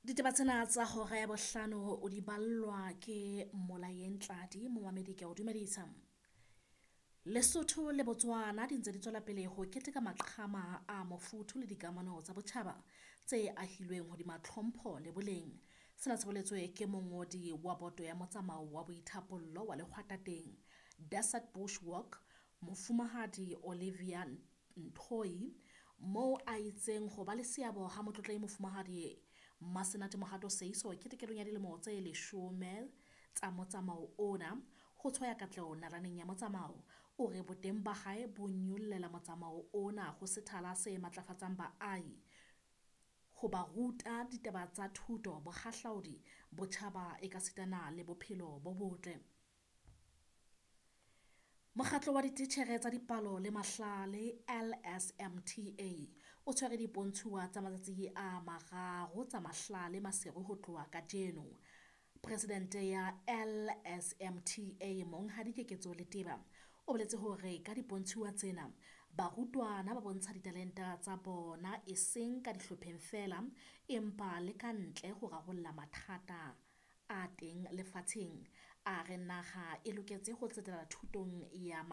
Ditaba tsena tsa hora ya bohlano o di ballwa ke Molayeng Tladi, momamedi ke a o dumedisa. Lesotho le Botswana di ntse di tswela pele ho keteka maqhama a mofuthu le dikamano tsa botjhaba tse ahilweng hodima tlhompho le boleng. Sena se boletswe ke mongodi wa boto ya motsamao wa boithapollo wa lehwatateng Desert Bush Walk, Mofumahadi Olivia Ntoi, moo a itseng ho ba le seabo ha Motlotlehi Mofumahadi Masenate Mohato Seeiso ketekelong ya dilemo tse 10 tsa motsamao ona, ho tshwaya katleho nalaneng ya motsamao. O re boteng ba hae bo nyollela motsamao ona ho sethala se matlafatsang baahi, ho ba ruta ditaba tsa thuto, bohahlaodi, botjhaba ekasitana le bophelo bo botle. Mokgatlo wa Dititjhere tsa Dipalo le Mahlale, LSMTA, o tshwere dipontshuwa tsa matsatsi a mararo tsa mahlale Maseru ho tloha kajeno. Presidente ya LSMTA, Monghadi Keketso Leteba, o boletse hore ka dipontshuwa tsena, barutwana ba bontsha ditalente tsa bona eseng ka dihlopheng feela, empa le ka ntle ho rarolla mathata a teng lefatsheng. A re naha e loketse ho tsetela thutong ya.